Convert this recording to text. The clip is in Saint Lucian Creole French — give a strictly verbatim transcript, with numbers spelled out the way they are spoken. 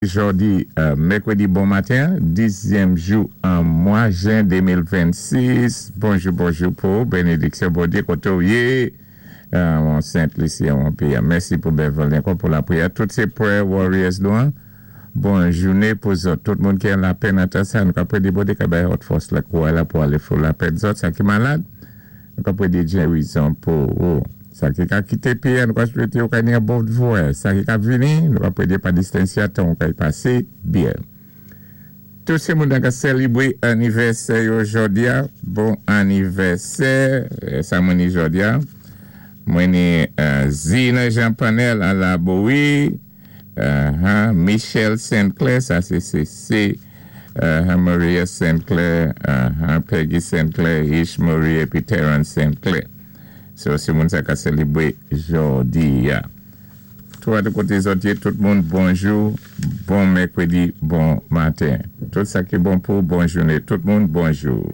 Jòdi, euh, mèkwédi bon maten, dizyèm jou an mwa jen de mil vennsis. Bonjou, bonjou pou bénédiksyon Bondyé koté ou yé. Euh, Sent Lisi, an péyi. Mèsi pou Beverly ankò pou lapriyè. Tout sé prayer warriors nou. Bon jouné pou zòt. Tout moun ki an lapenn an tan sa, nou ka pwédé Bondyé ka bay zòt fòs la kouway la pou alé fò lapenn zòt. Sa ki malad, nou ka pwédé gérizon pou ou. Sa ki ka kité péyi, nou ka swété ou ka ni yon bon vwayaj. Sa ki ka vini, nou ka pwédé pa distansi tan ou ka y pasé byen. Tout sé moun ka sélébwé anivèsè yo jòdi a, bon anivèsè, sa mwen ni jòdi a. Mwen ni euh, Zina Jean Panel à la Bowie, uh, Michel Sinclair, sa sé C C, uh, Maria Sinclair, uh, Peggy Sinclair, Ish Marie épi Terence Sinclair. So, sé moun sa ka sélébwé jòdi a. Twa de koté zòt, tout moun, bonjou, bon mèkwédi, bon maten. Tout sa ki bon pou bon jouné. Tout moun, bonjou.